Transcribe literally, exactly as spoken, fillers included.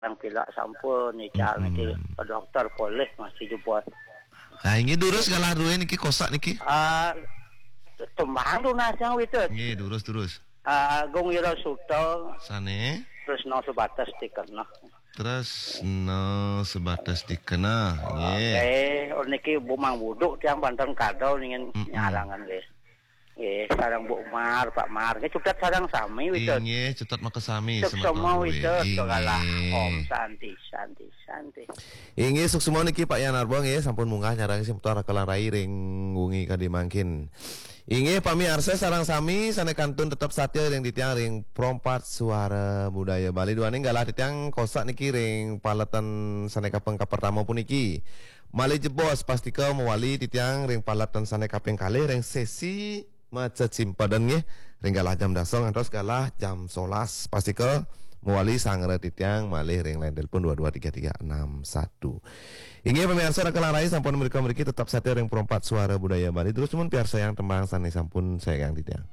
Nang pilak sampun, ical niki ke dokter polih masih jebos. Nah, ini durus galah duwe niki kosak niki. Ah, tembang tunas yang witut. Nggih, durus durus. Ah, Agung Wira Suta, Sane terus no sebatas stiker no. Terus no sebatas dikena. Nggih. Eh, oh, niki Bu Mang Buduk tiang banten kadal ningen nyarangan nggih. Nggih, sareng Bu Mar, Pak Mar. Nggih cutet sareng sami witut. Inggih, cutet makasami Suksma witut, galah. Om Santi, Santi, Santi. Inggih, suksma niki Pak Yan Arba nggih sampun munggah nyarang sing putar kalang rai ring wengi kadi mangkin. Inggih, pamiarsa sareng sami sane kantun tetep satya ring titiang ring Prompat Suara Budaya Bali. Duaning galah titiang kosak niki ring paletan sane kaping kapertama puniki. Malih jebos pastika mawali titiang ring paletan sane kaping kalih ring sesi maca cimpadan nggih ring galah jam dasa ngantos galah jam solas pastika mawali sangra titiang malih ring line telepon dua dua tiga tiga enam satu. Inggih pamiarsa raka rai sampun mrika mriki tetap satya ring Prompat Suara Budaya Bali terus mun piarsayang tembang sane sampun sayang titiang.